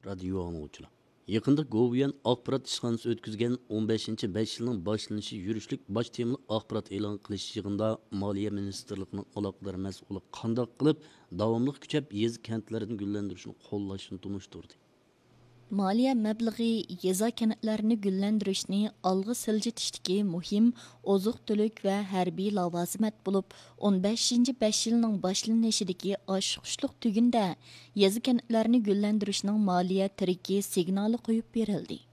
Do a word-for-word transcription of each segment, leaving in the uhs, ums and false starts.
رادىيو ئاڭلىغۇچىلار. يېقىندا گوۋۇيۈەن ئاخبارات ئىشخانىسى ئۆتكۈزگەن ئون بەشىنچى بەش يىلنىڭ باشلىنىشى يۈرۈشلۈك باش تېمىلىق ئاخبارات ئېلان قىلىش يىغىنىدا مالىيە مىنىستىرلىقىنىڭ ئالاقىدار مەسئۇلى قانداق قىلىپ داۋاملىق كۈچەپ يېزا، كەنتلەرنى گۈللەندۈرۈشنى قوللاشنى تونۇشتۇردى. مالىيە مەبلىغى يېزا، كەنتلەرنى گۈللەندۈرۈشنى ئالغا سىلجىتىشتىكى مۇھىم ئوزۇق-تۈلۈك ۋە ھەربىي لاۋازىمەت بولۇپ، ئون بەشىنچى بەش يىلنىڭ باشلىنىشىدىكى ئاچقۇچلۇق تۈگۈندە يېزا، كەنتلەرنى گۈللەندۈرۈشنىڭ مالىيە تىرىكى سىگنالى قويۇپ بېرىلدى.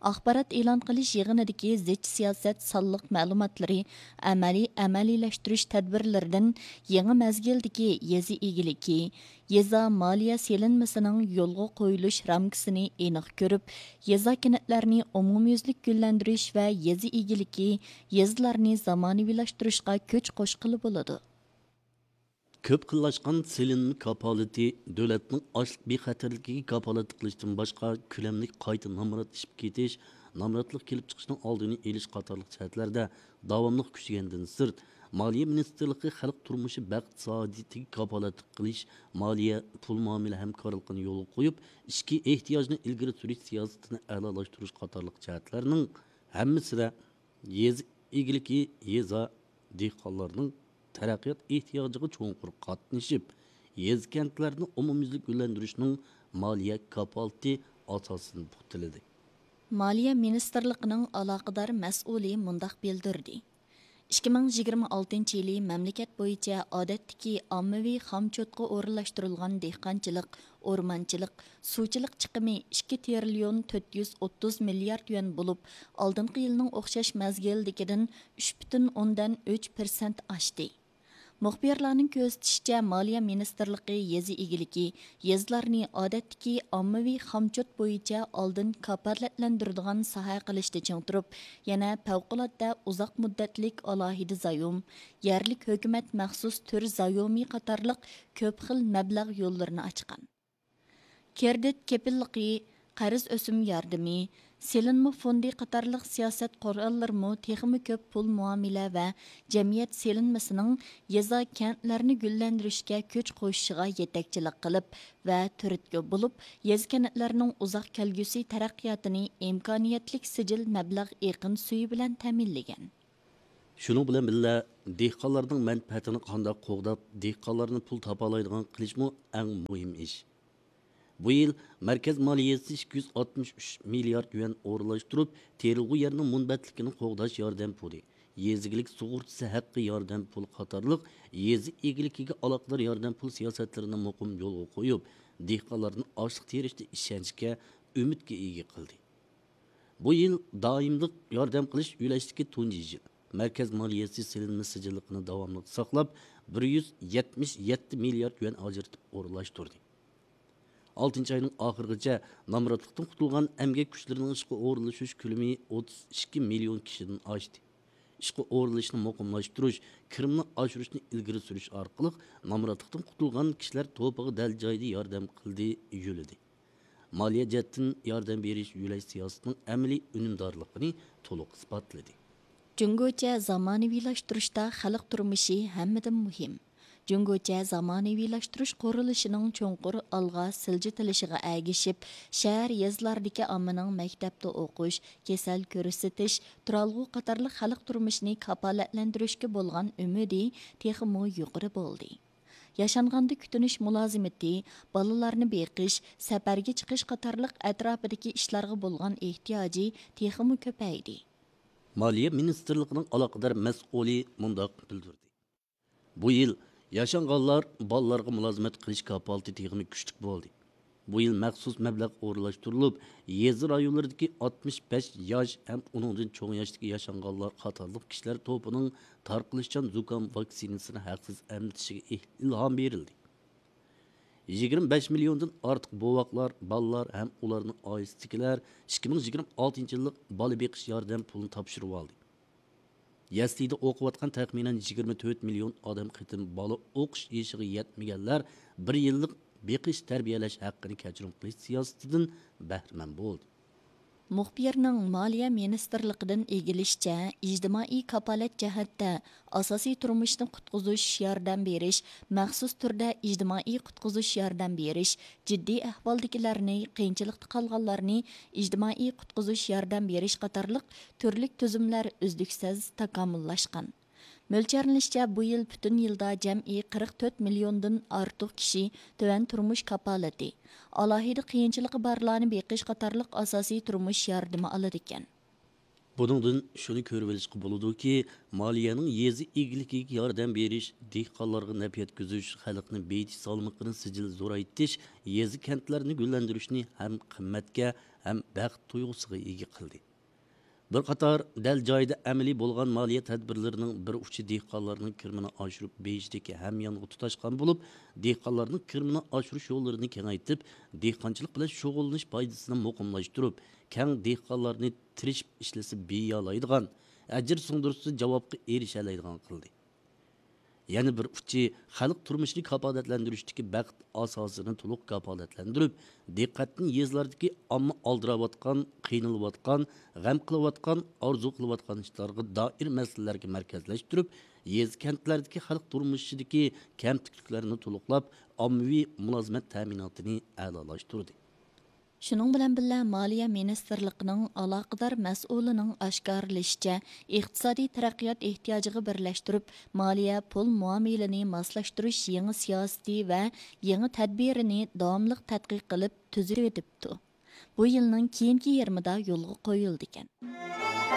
ئاخبارات ئېلان قىلىش يىغىنىدىكى زىچ سىياسەت سانلىق مەلۇماتلىرى ئەمەلىي ئەمەلىيلەشتۈرۈش تەدبىرلىرىدىن يېڭى مەزگىلدىكى يېزا ئىگىلىكى، يېزا مالىيە سېلىنمىسىنىڭ يولغا قويۇلۇش رامكىسىنى ئېنىق كۆرۈپ، يېزا، كەنتلەرنى ئومۇميۈزلۈك گۈللەندۈرۈش ۋە يېزا ئىگىلىكى، يېزىلارنى زامانىۋىلاشتۇرۇشقا كۈچ قوشقىلى بولىدۇ. كۆپ خىللاشقان سېلىنما كاپالىتى دۆلەتنىڭ ئاشلىق بىخەتەرلىكىگە كاپالەتلىك قىلىشتىن باشقا، كۆلەملىك قايتا نامرات ئېشىپ كېتىش، نامراتلىق كېلىپ چىقىشنىڭ ئالدىنى ئېلىش قاتارلىق جەھەتلەردە داۋاملىق كۈچىگەندىن سىرت، مالىيە مىنىستىرلىقى خەلق تۇرمۇشى بەخت سائادىتىگە كاپالەتلىك قىلىش، مالىيە، پۇل مۇئامىلە ھەمكارلىقىنى يولغا قويۇپ، ئىچكى ئېھتىياجنى ئىلگىرى سۈرۈش سىياسىتىنى ئەلالاشتۇرۇش قاتارلىق جەھەتلەرنىڭ ھەممىسىدە يېزا ئىگىلىكى، يېزا، دېھقانلارنىڭ تەرەققىيات ئېھتىياجىغا چوڭقۇر قاتنىشىپ، يېزا، كەنتلەرنى ئومۇميۈزلۈك گۈللەندۈرۈشنىڭ مالىيە كاپالىتى ئاساسىنى پۇختىلىدى. مالىيە مىنىستىرلىقىنىڭ ئالاقىدار مەسئۇلى مۇنداق بىلدۈردى: ئىككى مىڭ يىگىرمە ئالتىنچى يىلى مەملىكەت بويىچە ئادەتتىكى ئاممىۋى خامچوتقا ئورۇنلاشتۇرۇلغان دېھقانچىلىق، ئورمانچىلىق، سۇچىلىق چىقىمى ئىككى تىرىليون تۆت يۈز ئوتتۇز مىليارد يۈەن بولۇپ، ئالدىنقى يىلنىڭ ئوخشاش مەزگىلدىكىدىن ئۈچ پۈتۈن ئوندىن ئۈچ پىرسەنت ئاشتى. مۇخبىرلارنىڭ كۆزىتىشىچە، مالىيە مىنىستىرلىقى يېزا ئىگىلىكى، يېزىلارنى ئادەتتىكى ئاممىۋى خامچوت بويىچە ئالدىن كاپالەتلەندۈرىدىغان ساھە قىلىشتا چىڭ تۇرۇپ، يەنە پەۋقۇلئاددە ئۇزاق مۇددەتلىك ئالاھىدە زايوم، يەرلىك ھۆكۈمەت مەخسۇس تۈر زايومى قاتارلىق كۆپ خىل مەبلەغ يوللىرىنى ئاچقان. كىرېدىت كېپىللىقى، قەرز ئۆسۈم ياردىمى، سېلىنما فوندى قاتارلىق سىياسەت قوراللىرىمۇ تېخىمۇ كۆپ پۇل مۇئامىلە ۋە جەمئىيەت سېلىنمىسىنىڭ يېزا، كەنتلەرنى گۈللەندۈرۈشكە كۈچ قوشۇشىغا يېتەكچىلىك قىلىپ ۋە تۈرتكە بولۇپ، يېزا، كەنتلەرنىڭ ئۇزاق كەلگۈسى تەرەققىياتىنى ئىمكانىيەتلىك سىجىل مەبلەغ ئېقىن سۈيى بىلەن تەمىنلىگەن. شۇنىڭ بىلەن بىللە، دېھقانلارنىڭ مەنپەئەتىنى قانداق قوغداپ، دېھقانلارنى پۇل تاپالايدىغان قىلىشمۇ ئەڭ مۇھىم ئىش. بۇ يىل مەركەز مالىيەسى ئىككى يۈز ئاتمىش ئۈچ مىليارد يۈەن ئورۇنلاشتۇرۇپ، تېرىلغۇ يەرنىڭ مۇنبەتلىكىنى قوغداش ياردەم پۇلى، يېزا ئىگىلىك سۇغۇرتىسى ھەققى ياردەم پۇلى قاتارلىق يېزا ئىگىلىكىگە ئالاقىدار ياردەم پۇل سىياسەتلىرىنى مۇقىم يولغا قويۇپ، دېھقانلارنى ئاشلىق تېرىشتا ئىشەنچكە، ئۈمىدكە ئىگە قىلدى. بۇ يىل دائىملىق ياردەم قىلىش يۆلەشتىكى تۇنجى يىل. مەركەز مالىيەسى سېلىنما سىجىللىقىنى داۋاملىق ساقلاپ، بىر يۈز يەتمىش يەتتە مىليارد يۈەن ئاجرىتىپ ئورۇنلاشتۇردى. ئالتىنچى ئاينىڭ ئاخىرىغىچە نامراتلىقتىن قۇتۇلغان ئەمگەك كۈچلىرىنىڭ ئىشقا ئورۇنلىشىش كۆلىمى ئوتتۇز ئىككى مىليون كىشىدىن ئاشتى. ئىشقا ئورۇنلىشىشنى مۇقىملاشتۇرۇش، كىرىمنى ئاشۇرۇشنى ئىلگىرى سۈرۈش ئارقىلىق نامراتلىقتىن قۇتۇلغان كىشىلەر توپىغا دەل جايىدا ياردەم قىلدى، يۆلىدى. مالىيە جەھەتتىن ياردەم بېرىش يۆلەش سىياسىتىنىڭ ئەمەلىي ئۈنۈمدارلىقىنى تولۇق ئىسپاتلىدى. جۇڭگوچە زامانىۋىلاشتۇرۇشتا خەلق تۇرمۇشى ھەممىدىن مۇھىم. جۇڭگوچە زامانىۋىلاشتۇرۇش قۇرۇلۇشىنىڭ چوڭقۇر ئالغا سىلجىتىلىشىغا ئەگىشىپ، شەھەر، يېزىلاردىكى ئاممىنىڭ مەكتەپتە ئوقۇش، كېسەل كۆرسىتىش، تۇرالغۇ قاتارلىق خەلق تۇرمۇشىنى كاپالەتلەندۈرۈشكە بولغان ئۈمىدى تېخىمۇ يۇقىرى بولدى. ياشانغاندا كۈتۈنۈش مۇلازىمىتى، بالىلارنى بېقىش، سەپەرگە چىقىش قاتارلىق ئەتراپىدىكى ئىشلارغا بولغان ئېھتىياجى تېخىمۇ كۆپەيدى. مالىيە مىنىستىرلىقىنىڭ ئالاقىدار مەسئۇلى مۇنداق بىلدۈردى: بۇ يىل ياشانغانلار، بالىلارغا مۇلازىمەت قىلىش كاپالىتى تېخىمۇ كۈچلۈك بولدى. بۇ يىل مەخسۇس مەبلەغ ئورۇنلاشتۇرۇلۇپ، يېزا رايونلىرىدىكى ئاتمىش بەش ياش ھەم ئۇنىڭدىن چوڭ ياشتىكى ياشانغانلار قاتارلىق كىشىلەر توپىنىڭ تارقىلىشچان زۇكام ۋاكسىنىسىنى ھەقسىز ئەمدىشىگە ئىلھام بېرىلدى. يىگىرمە بەش مىليوندىن ئارتۇق بوۋاقلار، بالىلار ھەم ئۇلارنىڭ ئائىلىسىدىكىلەر ئىككى مىڭ يىگىرمە ئالتىنچى يىللىق بالا بېقىش ياردەم پۇلىنى تاپشۇرۇۋالدى. يەسلىدە ئوقۇۋاتقان تەخمىنەن يىگىرمە تۆت مىليون ئادەم قېتىم بالا ئوقۇش يېشىغا يەتمىگەنلەر بىر يىللىق بېقىش تەربىيەلەش ھەققىنى كەچۈرۈم قىلىش سىياسىتىدىن بەھرىمەن بولدى. مۇخبىرنىڭ مالىيە مىنىستىرلىقىدىن ئىگىلىشىچە، ئىجتىمائىي كاپالەت جەھەتتە ئاساسىي تۇرمۇشنى قۇتقۇزۇش ياردەم بېرىش، مەخسۇس تۈردە ئىجتىمائىي قۇتقۇزۇش ياردەم بېرىش، جىددىي ئەھۋالدىكىلەرنى، قىيىنچىلىقتا قالغانلارنى ئىجتىمائىي قۇتقۇزۇش ياردەم بېرىش قاتارلىق تۈرلۈك تۈزۈملەر ئۈزلۈكسىز تاكامۇللاشقان. مۆلچەرلىنىشىچە، بۇ يىل پۈتۈن يىلدا جەمئىي قىرىق تۆت مىليوندىن ئارتۇق كىشى تۆۋەن تۇرمۇش كاپالىتى، ئالاھىدە قىيىنچىلىقى بارلارنى بېقىش قاتارلىق ئاساسىي تۇرمۇش ياردىمى ئالىدىكەن. بۇنىڭدىن شۇنى كۆرۈۋېلىشقا بولىدۇكى، مالىيەنىڭ يېزا ئىگىلىكىگە ياردەم بېرىش، دېھقانلارغا نەپ يەتكۈزۈش، خەلقنى بېيىتىش سالمىقىنى سىجىل زورايتىش يېزا، كەنتلەرنى گۈللەندۈرۈشنى ھەم قىممەتكە، ھەم بەخت تۇيغۇسىغا ئىگە قىلدى. بىر قاتار دەل جايىدا ئەمەلىي بولغان مالىيە تەدبىرلىرىنىڭ بىر ئۇچى دېھقانلارنىڭ كىرىمىنى ئاشۇرۇپ بېيىشتىكى ھەميانغا تۇتاشقان بولۇپ، دېھقانلارنىڭ كىرىمىنى ئاشۇرۇش يوللىرىنى كېڭەيتىپ، دېھقانچىلىق بىلەن شۇغۇللىنىش پايدىسىنى مۇقىملاشتۇرۇپ، كەڭ دېھقانلارنى تىرىشىپ ئىشلىسە بېيىيالايدىغان، ئەجىر سىڭدۈرسە جاۋابقا ئېرىشەلەيدىغان قىلدى. يەنە بىر ئۇچى، خەلق تۇرمۇشىنى كاپالەتلەندۈرۈشتىكى بەخت ئاساسىنى تولۇق كاپالەتلەندۈرۈپ، دىققەتنى يېزىلاردىكى ئامما ئالدىراۋاتقان، قىينىلىۋاتقان، غەم قىلىۋاتقان، ئارزۇ قىلىۋاتقان ئىشلارغا دائىر مەسىلىلەرگە مەركەزلەشتۈرۈپ، يېزا، كەنتلەردىكى خەلق تۇرمۇشىدىكى كەمتۈكلۈكلەرنى تولۇقلاپ، ئاممىۋى مۇلازىمەت تەمىناتىنى ئەلالاشتۇردى. شۇنىڭ بىلەن بىللە، مالىيە مىنىستىرلىقىنىڭ ئالاقىدار مەسئۇلىنىڭ ئاشكارىلىشىچە، ئىقتىسادىي تەرەققىيات ئېھتىياجىغا بىرلەشتۈرۈپ، مالىيە پۇل مۇئامىلىنى ماسلاشتۇرۇش يېڭى سىياسىتى ۋە يېڭى تەدبىرىنى داۋاملىق تەتقىق قىلىپ تۈزۈۋېتىپتۇ. بۇ يىلنىڭ كېيىنكى يېرىمىدا يولغا قويۇلىدىكەن.